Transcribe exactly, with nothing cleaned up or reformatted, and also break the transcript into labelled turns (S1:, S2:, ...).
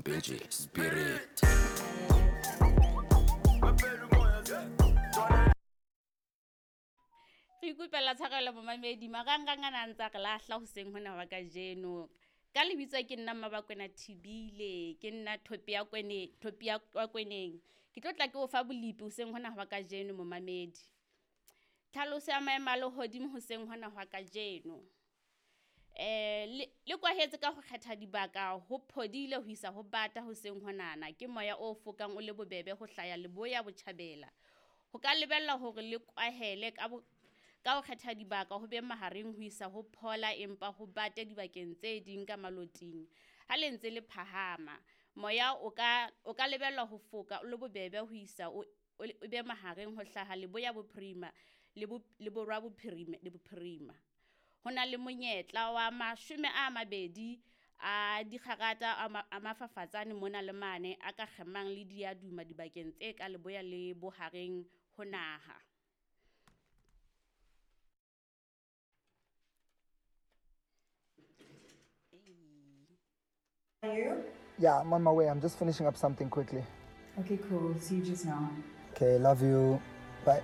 S1: Mpeje Spirit.
S2: Re ikopela tshwarelo momamedi, marangrang ana a ntsa re lahla hoseng hona wa kajeno. Ka lebitso ke nna Mmabakwena Thibile, ke nna thopi ya kwene, thopi ya wa kweneng. Ke tlo tla ke o fa bolepi hoseng hona hwa kajeno momamedi. Tlhaloso ya maemo a lehodimo hoseng hona hwa kajeno. Eh le, le kwahetse ka ho kgetha dibaka ho phodile ho isa ho bata hoseng honana ke moya o fokang o le bobebe ho hlaya leboya botjhabela. Ho ka lebella hore le kwahele ka bo ka ho kgetha dibaka ho be mahareng ho isa ho phola empa ho bate dibakeng tse ding ka maloting. Ha le ntse le phahama, moya o ka o ka lebellwa ho foka o le bobebe ho isa o o o be mahareng ho hlaha leboya bophirima le bo le borwa bophirima le bophirima. Ho na le monyetla wa mashome a mabedi a dikgarata a ma a mafafatsane mona le mane a ka kgemang le diaduma dibakeng tse ka leboya le bohareng ho naha.
S3: You?
S4: Yeah, I'm on my way. I'm just finishing up something quickly.
S3: Okay, cool. See you just now.
S4: Okay, love you. Bye.